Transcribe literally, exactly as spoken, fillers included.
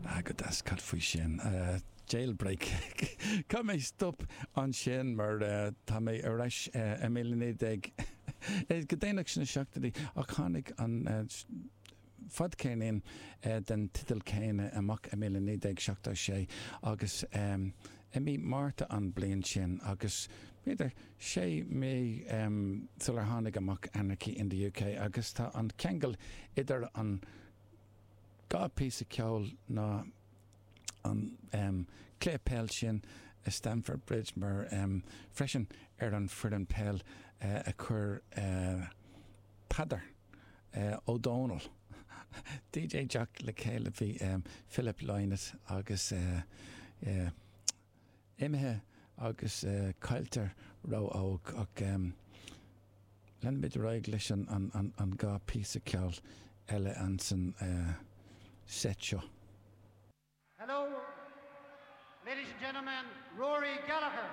Ah, go deas, cad faoi sin? Jailbreak. Caithfidh mé stop ansin mar tá mé ar ais i míle naoi déag go déanach sna seachtóidí ach tháinig an fadcheirnín den teideal céanna amach i míle naoi déag seachtó sé agus i mí Márta an bliain sin agus b'fhéidir sé mí sular tháinig amach Anarchy in the UK agus tá an ceangal idir an dhá píosa ceoil ná an cluiche peil sin i Stamford Bridge mar freisin ar an foireann peil a chuir Peadar Ó Dónaill, DJ Jack le chéile bhí Philip Lynott agus imithe agus caillte ró-óg ach leanfaimid ar aghaidh leis an dhá píosa ceoil eile ansan set seo. Hello, ladies and gentlemen, Rory Gallagher.